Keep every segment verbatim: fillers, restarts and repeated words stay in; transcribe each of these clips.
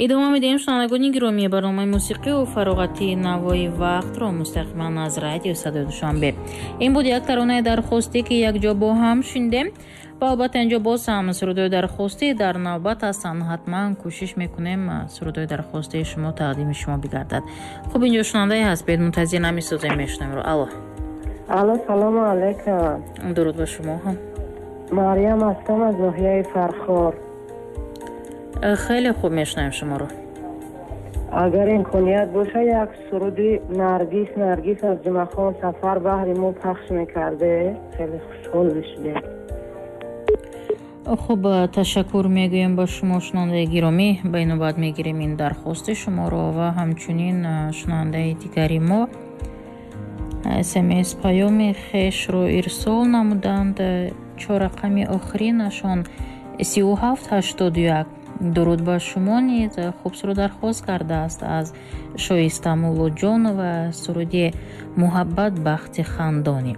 Идома медиҳем, шунавандагони гиромӣ, барномаи мусиқию фароғатии «Навои вақтро» мустақиман аз Радиои Садои Душанбе. Ин буд як таронаи дархостӣ, ки якҷо бо ҳам шунидем, ва албатта инҷо боз ҳам сурудҳои дархостӣ дар навбат ҳастанд. Ҳатман кӯшиш мекунем, сурудҳои дархостии шумо тақдими шумо бигардад. Хуб, инҷо шунавандае ҳаст, бед, мунтазир намесозем, мешунавем. Алло. Алло, салому алайкум. Дуруд ба шумо ҳам. Марьям ҳастам аз ноҳияи Фархор. Хеле хуб, мешунавем шуморо. Агар имконият боша, як суруди «Наргис, Наргис» аз Ҷумъахон Сафар баҳри мо пахш мекарде, хеле хушҳол мешудем. Хуб, ташаккур мегӯем ба шумо, шунавандаи гиромӣ. Ба ин навбат мегирем ин дархости шуморо. Ва ҳамчунин шунавандаи дигари мо смс паёми хешро ирсол намуданд, чор рақами охиринашон сию ҳафт ҳаштоду як. Дуруд ба шумо низ. Хуб, суруд дархост кардааст аз Шоиста Муллоҷонова, суруди «Муҳаббат бахти хандонӣ».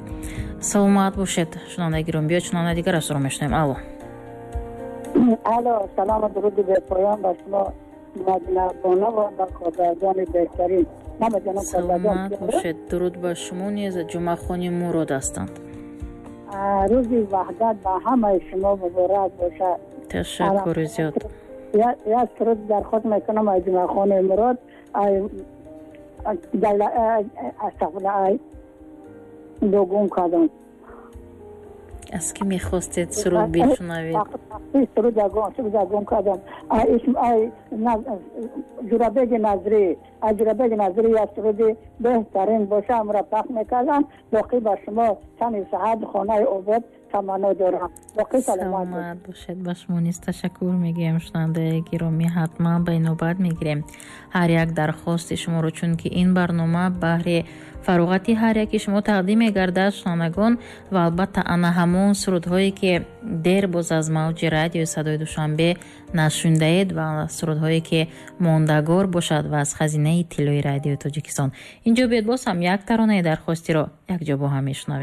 Саломат бошед, шунавандаи гиромӣ. Биёед, шунавандаи дигар ро мешунавем. Алло. Алло, салому дуруди бепоён ба шумо, Мадинабону, ва ба Кодарҷони беҳтарин. Саломат бошед, дуруд ба шумо низ. Ҷумъахони Мурод ҳастанд. Рӯзи Ваҳдат ба ҳамаи шумо муборак бошад. Ташаккури зиёд. Як суруд дархост мекунам аз Ҷумъахони Мурод, астағфирулло, ай гум кардам. Аз кӣ мехостед суруд бишунавед? суруд гум кардам. Ҷурабеги Назрӣ, аз Ҷурабеги Назрӣ як суруди беҳтарин боша, амра пахш мекардам. Боқӣ ба шумо тани саҳат, хонаи обод таманно дорам. Боқӣ саломат бошед. Ба шумо низ ташаккур мегӯем, шунавандаи гиромӣ. Ҳатман ба инобат мегирем ҳар як дархости шуморо, чунки ин барнома баҳри фароғати ҳар яки шумо тақдим мегардад, шунавандагон. Ва албатта ана ҳамон сурудҳое, ки дер боз аз мавҷи Радиои Садои Душанбе нашунидаед ва сурудҳое, ки мондагор бошад ва аз хазинаи тиллои Радиои Тоҷикистон. Инҷо биёд, боз ҳам як таронаи дархостиро якҷо бо ҳам мешунавем.